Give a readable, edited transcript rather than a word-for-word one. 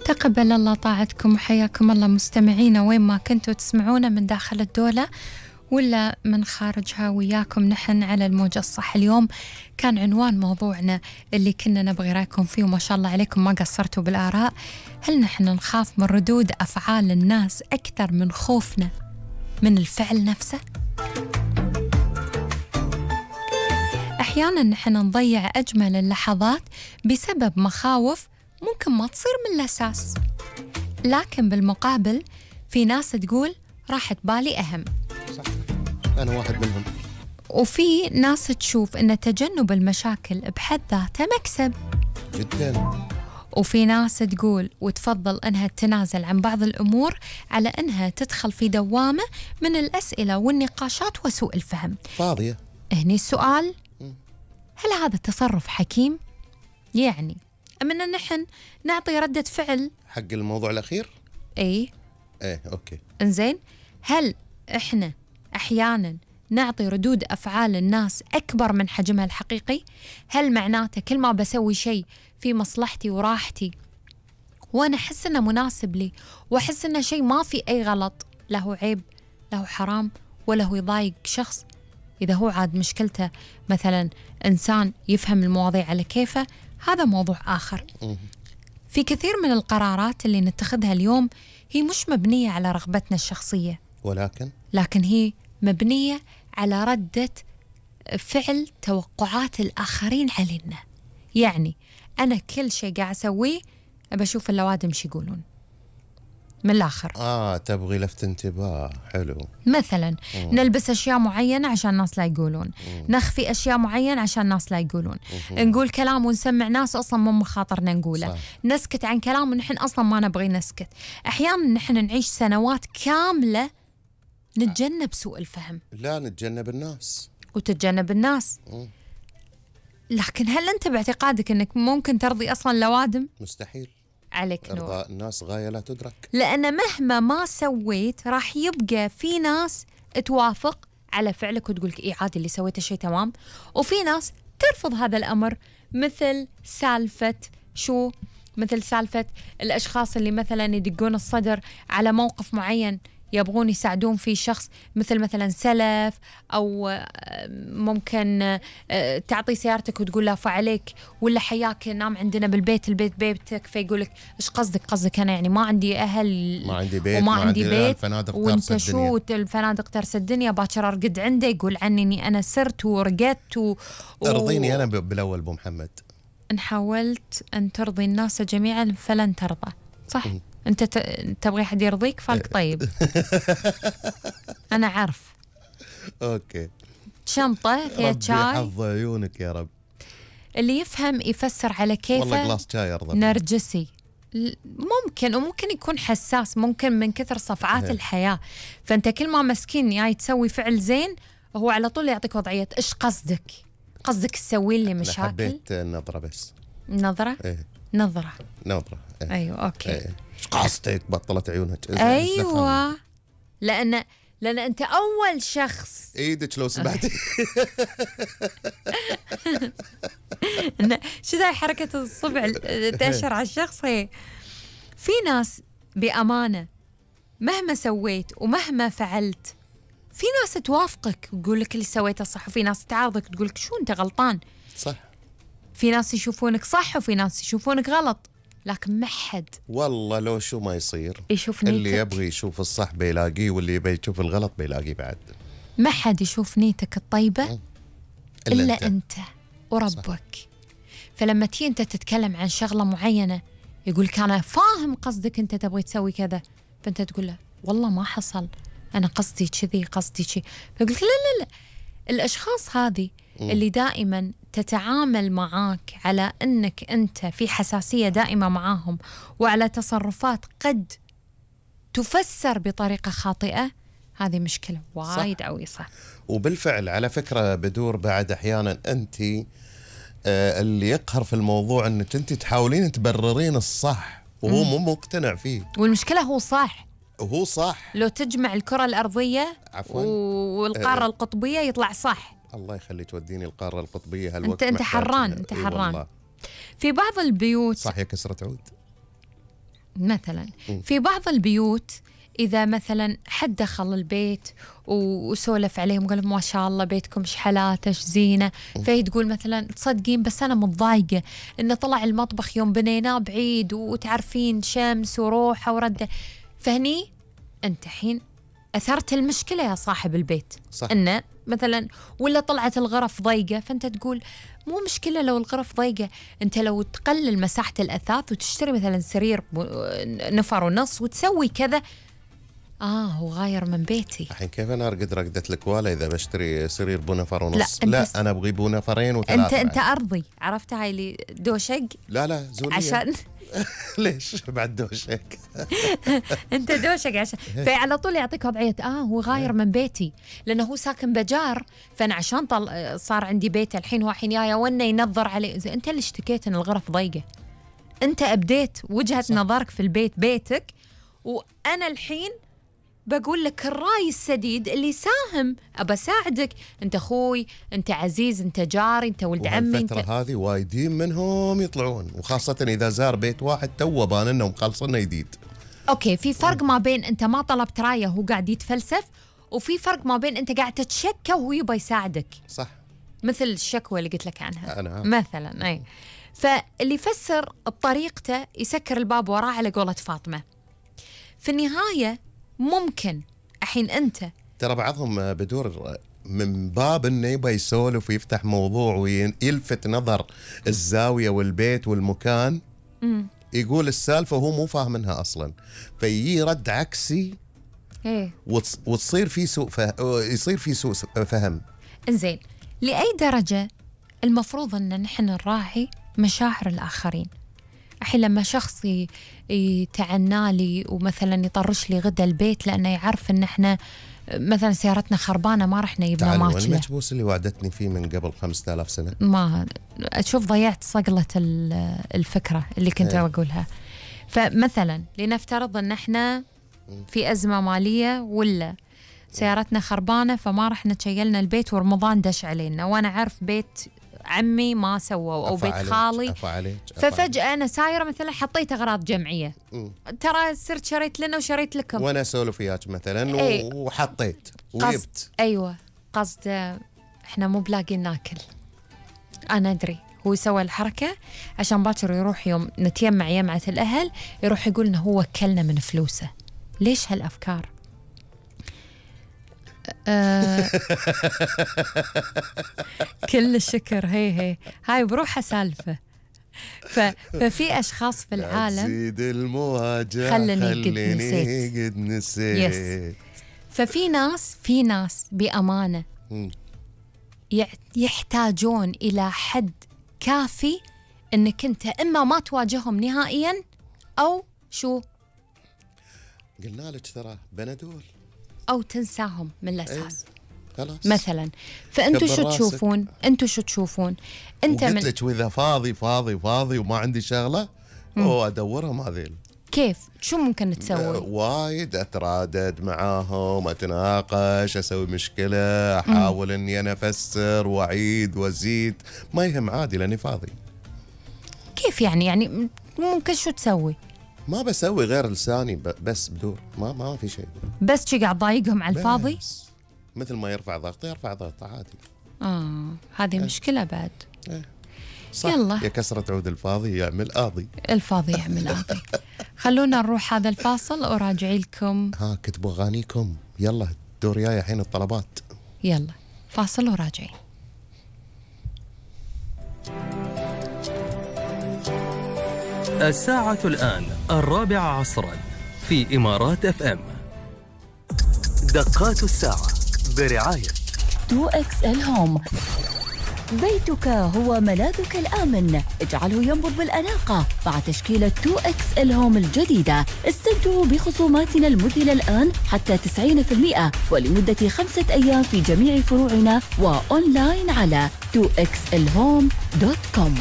تقبل الله طاعتكم وحياكم الله مستمعينا وين ما كنتوا تسمعونا من داخل الدولة ولا من خارجها، وياكم نحن على الموجة الصح. اليوم كان عنوان موضوعنا اللي كنا نبغي رأيكم فيه، وما شاء الله عليكم ما قصرتوا بالآراء. هل نحن نخاف من ردود أفعال الناس أكثر من خوفنا من الفعل نفسه؟ أحيانا نحن نضيع أجمل اللحظات بسبب مخاوف ممكن ما تصير من الأساس، لكن بالمقابل في ناس تقول راحة بالي أهم. صح، أنا واحد منهم. وفي ناس تشوف أن تجنب المشاكل بحد ذاته مكسب جدا. وفي ناس تقول وتفضل أنها تتنازل عن بعض الأمور على أنها تدخل في دوامة من الأسئلة والنقاشات وسوء الفهم. فاضية. هني السؤال، هل هذا التصرف حكيم؟ يعني أمنا نحن نعطي ردة فعل حق الموضوع الأخير؟ إيه أوكي. إنزين، هل إحنا أحياناً نعطي ردود أفعال الناس أكبر من حجمها الحقيقي؟ هل معناته كل ما بسوي شيء في مصلحتي وراحتي وأنا أحس إنه مناسب لي وأحس إنه شيء ما في أي غلط، له عيب له حرام ولا هو يضايق شخص؟ إذا هو عاد مشكلته مثلاً إنسان يفهم المواضيع على كيفه، هذا موضوع آخر. في كثير من القرارات اللي نتخذها اليوم هي مش مبنية على رغبتنا الشخصية، لكن هي مبنية على ردة فعل توقعات الآخرين علينا. يعني أنا كل شيء قاعد أسويه أبى أشوف اللوادم شو يقولون من الآخر. تبغي لفت انتباه. حلو. مثلا نلبس أشياء معينة عشان الناس لا يقولون، نخفي أشياء معينة عشان الناس لا يقولون، نقول كلام ونسمع ناس أصلا مو مخاطرنا نقوله. صح. نسكت عن كلام ونحن أصلا ما نبغي نسكت. أحيانا نحن نعيش سنوات كاملة نتجنب سوء الفهم. لا، نتجنب الناس وتتجنب الناس. لكن هل أنت باعتقادك أنك ممكن ترضي أصلا لوادم؟ مستحيل. عليك نور. إرضاء الناس غاية لا تدرك. لأن مهما ما سويت راح يبقى في ناس توافق على فعلك وتقولك إيه عادي اللي سويته شيء تمام، وفي ناس ترفض هذا الأمر. مثل سالفة الأشخاص اللي مثلا يدقون الصدر على موقف معين يبغون يساعدون فيه شخص، مثلا سلف، أو ممكن تعطي سيارتك وتقول لا فعليك، ولا حياك نام عندنا بالبيت، البيت بيتك، فيقولك إيش قصدك أنا يعني ما عندي أهل، ما عندي بيت، وما عندي بيت، وانت شو الفنادق ترس الدنيا، باكر أرقد عنده يقول عني إني أنا سرت ورقدت ارضيني أنا بالأول أبو محمد. إن حاولت أن ترضي الناس جميعا فلن ترضى. صح. أنت تبغي حد يرضيك فالك طيب. أنا عارف. أوكي. شنطة فيها شاي، حظ عيونك يا رب. اللي يفهم يفسر على كيفه. والله جلاس شاي أرضى. نرجسي وممكن يكون حساس، ممكن من كثر صفعات الحياة. فأنت كل ما مسكين يعني تسوي فعل زين هو على طول يعطيك وضعية إيش قصدك تسوي لي مشاكل. حبيت النظرة بس. نظرة؟ نظرة. أيوة أوكي. إيش قصدك؟ بطلت عيونك. أيوة. لأن أنت أول شخص. إيدك لو سمحتي. شو ذا حركة الصبع تأشر على الشخص. هي في ناس بأمانة مهما سويت ومهما فعلت في ناس توافقك وتقول لك اللي سويته صح، وفي ناس تعارضك تقول لك شو أنت غلطان. صح. في ناس يشوفونك صح وفي ناس يشوفونك غلط، لكن ما حد والله لو شو ما يصير يشوف نيتك. اللي يبغي يشوف الصح بيلاقيه، واللي يبغي يشوف الغلط بيلاقيه بعد. ما حد يشوف نيتك الطيبة إلا أنت وربك. صح. فلما تيجي أنت تتكلم عن شغلة معينة يقولك أنا فاهم قصدك، أنت تبغي تسوي كذا، فأنت تقول له والله ما حصل، أنا قصدي كذي قصدي شي، فيقولك لا. الأشخاص هذه اللي دائما تتعامل معاك على أنك أنت في حساسية دائمة معاهم، وعلى تصرفات قد تفسر بطريقة خاطئة، هذه مشكلة وايد قوي. صح. وبالفعل على فكرة بدور بعد أحيانا أنت اللي يقهر في الموضوع أنك أنت تحاولين تبررين الصح وهو مو مقتنع فيه، والمشكلة هو صح. وهو صح. لو تجمع الكرة الأرضية والقارة القطبية يطلع صح. الله يخلي توديني القارة القطبية هالوقت. أنت حران. في بعض البيوت. صح يا كسرة عود. مثلا في بعض البيوت إذا مثلا حد دخل البيت وسولف عليهم وقال ما شاء الله بيتكم شحلات ايش زينة، فهي تقول مثلا تصدقين بس أنا متضايقة إنه طلع المطبخ يوم بنيناه بعيد وتعرفين شمس وروحة وردة. فهني أنت حين أثرت المشكلة يا صاحب البيت، صح. إنه مثلا ولا طلعت الغرف ضيقة، فأنت تقول مو مشكلة لو الغرف ضيقة، أنت لو تقلل مساحة الأثاث وتشتري مثلا سرير نفر ونص وتسوي كذا. هو غاير من بيتي. الحين كيف انا ارقد رقدة الكوالا اذا بشتري سرير بنفر ونص؟ لا انا ابغي بنفرين وثلاثة. انت ارضي، عرفت هاي اللي دوشق. لا زولية عشان ليش بعد دوشق؟ انت دوشق عشان فعلى طول يعطيك وضعية هو غاير من بيتي، لانه هو ساكن بجار، فانا عشان صار عندي بيت الحين، هو الحين يا ونا ينظر عليه. اذا انت اللي اشتكيت ان الغرف ضيقة، انت ابديت وجهة نظرك في البيت بيتك، وانا الحين بقول لك الرأي السديد اللي ساهم، أبى أساعدك. أنت أخوي، أنت عزيز، أنت جاري، أنت ولد عمي. الفترة هذه وايدين منهم يطلعون، وخاصة إذا زار بيت واحد تو باننا ومخلصنا جديد. أوكي، في فرق ما بين أنت ما طلبت رايه وهو قاعد يتفلسف، وفي فرق ما بين أنت قاعد تتشكى وهو يبغى يساعدك. صح. مثل الشكوى اللي قلت لك عنها. أنا. مثلا أي، فاللي يفسر بطريقته يسكر الباب وراه على قولة فاطمة. في النهاية ممكن الحين أنت ترى بعضهم بدور من باب إنه يبغى يسولف ويفتح موضوع ويلفت نظر الزاوية والبيت والمكان، يقول السالفة وهو مو فاهمنها أصلا، فيجي رد عكسي وتصير في سوء يصير في سوء فهم. إنزين، لأي درجة المفروض أن نحن نراعي مشاعر الآخرين؟ الحين لما شخص يتعنى لي ومثلا يطرش لي غدا البيت لأنه يعرف إن إحنا مثلا سيارتنا خربانة ما رح نجيبنا ماكلة. تعال المكبوس اللي وعدتني فيه من قبل 5000 سنة. ما أشوف ضيعت صقلة الفكرة اللي كنت بقولها. فمثلا لنفترض إن إحنا في أزمة مالية ولا سيارتنا خربانة فما رح نتشيلنا البيت ورمضان دش علينا، وأنا عارف بيت عمي ما سووا أو بيت خالي، ففجأة أنا سايرة مثلا حطيت أغراض جمعية، ترى صرت شريت لنا وشريت لكم، وأنا أسولف وياك مثلا وحطيت وجبت. أيوة، قصد إحنا مو بلاقين ناكل. أنا أدري هو سوى الحركة عشان باكر يروح يوم نتيمع يمعة الأهل يروح يقول إنه هو وكلنا من فلوسه. ليش هالأفكار؟ كل الشكر. هاي بروحها سالفة. ففي أشخاص في العالم زيد المواجهة خلني قد نسيت. ففي ناس بأمانة يحتاجون إلى حد كافي إنك أنت إما ما تواجههم نهائيا أو شو قلنا لك ترى بنادول، أو تنساهم من الأساس. خلاص مثلا. فأنتوا شو تشوفون؟ أنت قلت لك وإذا فاضي وما عندي شغلة أدورهم هذيل. كيف؟ شو ممكن تسوي؟ وايد أترادد معاهم، أتناقش، أسوي مشكلة، أحاول إني أنا أفسر وأعيد وأزيد، ما يهم عادي لأني فاضي. كيف يعني ممكن شو تسوي؟ ما بسوي غير لساني بس بدور، ما في شيء، بس شي قاعد ضايقهم على الفاضي. مثل ما يرفع ضغطه عادي. هذه مشكلة بعد. صح. يلا يا كسرة عود الفاضي يعمل قاضي. الفاضي يعمل قاضي. خلونا نروح هذا الفاصل وراجعي لكم. كتبوا أغانيكم، يلا دور جاي الحين الطلبات. يلا فاصل وراجعي. الساعة الآن 4 عصرا في إمارات FM. دقات الساعة برعاية 2XL هوم. بيتك هو ملاذك الآمن، اجعله ينبض بالأناقة مع تشكيلة 2XL هوم الجديدة. استمتعوا بخصوماتنا المذهلة الآن حتى 90% ولمدة 5 أيام في جميع فروعنا وأونلاين على 2xlhome.com.